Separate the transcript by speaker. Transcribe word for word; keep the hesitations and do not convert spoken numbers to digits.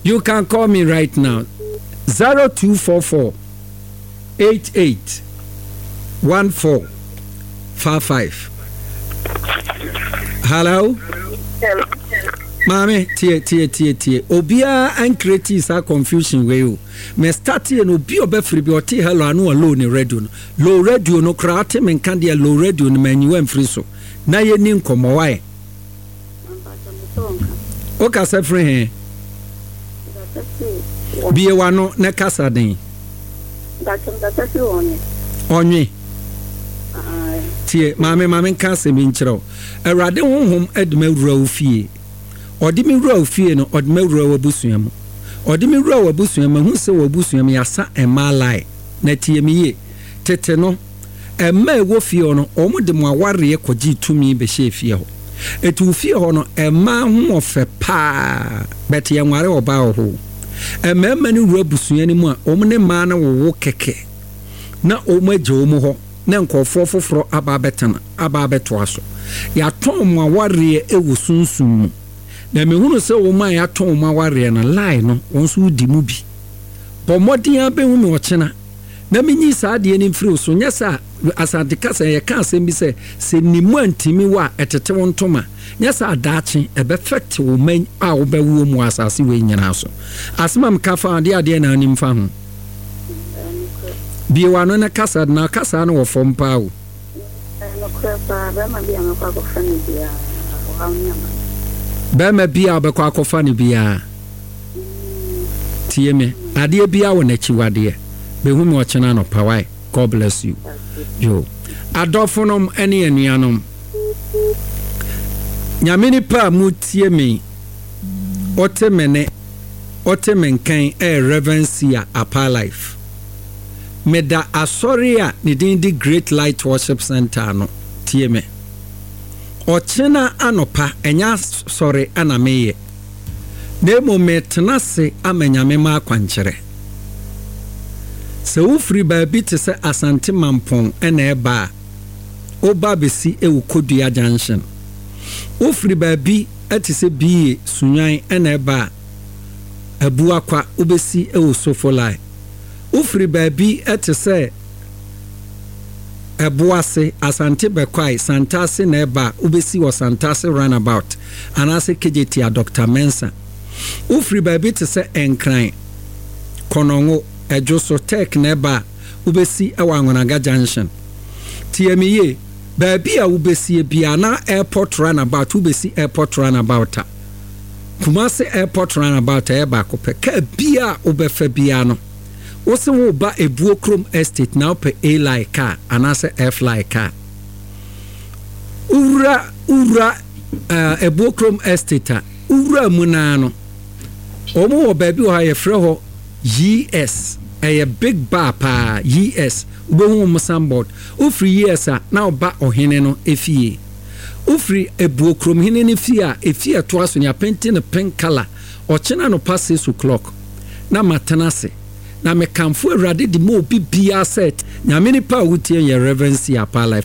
Speaker 1: You can call me right now. Zero two four four eight eight one four five five. Hello.
Speaker 2: Hello.
Speaker 1: Maame, tie tie tie tie. Obiara ancreate saa confusion wei o. Me start yɛ no, obi a ɔbɛfiri bi ɔte hello ano a low ne radio no. Low radio no koraa ɔte me nka deɛ low radio no ma anyiwa mfiri so. Na yɛni nkɔmmɔ wae. Wokasa firi he? Bie w'ano na kasa den. Ɔnwe. Tie, maame, maame nka asɛm yi nkyerɛ wo. Awurade honhom de me awura wo fie. Ɔde me wura wo fie no, ɔde me awura w'abusua mu. Ɔde me wura w'abusua mu, mahu sɛ w'abusua mu yɛasa mmaa line. Na tie me yie, tete no, mmaa a ɛwɔ fie hɔ no, wɔde mo awareɛ kɔgyee tumi bɛhyɛɛ fie hɔ. Eti wo fie hɔ no, mmaa ho ɔfɛ paa, but yɛnware ɔbaa wɔ hɔ o. Mmarima no wura abusua no mu a, wɔn ne mmaa no wowo kɛkɛ na wɔn agya wɔn hɔ na nkurɔfoɔ foforɔ aba abɛtena, aba abɛtoa so. Yɛatɔn mo awareɛ wɔ sunsum mu. Na mehunu sɛ wɔn a yɛatɔn wɔn awareɛ no, lie no, wɔn nso wodi mu bi. Bɔ mmɔden ara bɛhu me ɔkyena na menyi saa adeɛ no mfiri wo so. Nyɛ saa a, Asante kasa yɛka asɛm bi sɛ, sɛ nim antimi wo a, ɛtete wo ntoma. Nyɛ saa a, daakye ɛbɛfɛte wo mma a wobɛwo wɔn wɔ asase wei nyinaa so. Asɛm a meka fa ho, adeɛ adeɛ na wonim fa ho? Bue w'ano na kasa, na kasa no wɔ fam paa o.
Speaker 2: Ɛyɛ nokorɛ paa, barima bi a mɛkɔ akɔfa no biara, ɔhaw ne amane.
Speaker 1: Barima bi a wobɛkɔ akɔfa no biara, tie me, adeɛ biara wɔ n'akyiwadeɛ. Bɛhu me ɔkyena anɔpa, wai? God bless you. Yo. Adɔfonom ne anuanom, Nyame nipa a motie me, wote me ne, wote me nkan ɛyɛ Reverend Sia Apa Life. Meda asɔre a ne din de Great Light Worship Center ano. Tie me. Ɔkyena anɔpa, ɛnyɛ asɔre na meyɛ, na mmom metena ase ama Nyame ma akwankyerɛ. Sɛ wofiri baabi te sɛ Asante Mampɔn na ɛba a, woba bɛsi wɔ Kodua Junction. Wofiri baabi te sɛ Biye, Sunyani na ɛba a, Abuakwa, wobɛsi wɔ Sofolai. Wofiri baabi te sɛ Ɛboase, Asante Bɛkwae, Santase na ɛba a, wobɛsi wɔ Santase Runabout anaasɛ Kejetia Doctor Mensah. Wofiri baabi te sɛ Nkran, Kɔnɔngo, Ɛdwoso, Tech na ɛba a, wobɛsi wɔ Anwonaga Junction. Tie me yie, baabi a wobɛsie biara na Airport Runabout, wobɛsi Airport Runabout a, Kumasi Airport Runabout ɛyɛ baako pɛ. Kaa biara a wobɛfa biara no, wo se woreba Ebuo Kurom Estate na wopɛ A-Line kaa anaasɛ F-Line kaa. Wowura wowura uh, Ebuo Kurom Estate a, wowura mu naa no, wɔn wɔ baabi wɔ hɔ a yɛfrɛ hɔ Y S. Ɛyɛ big bar paa, Y S. Wobɛhu wɔn signboard. Wofiri Y S a, na woba ɔhene no efie. Wofiri Ebuo Kuromhene no fie a, efie a ɛtoa so no, yɛapaint no pink colour. Ɔkyena anɔpa six o'clock na matena ase. Na mekamfo Awurade de ma obi biara sɛ Nyame nipa a wotie yɛ Reverend C. Apa Life.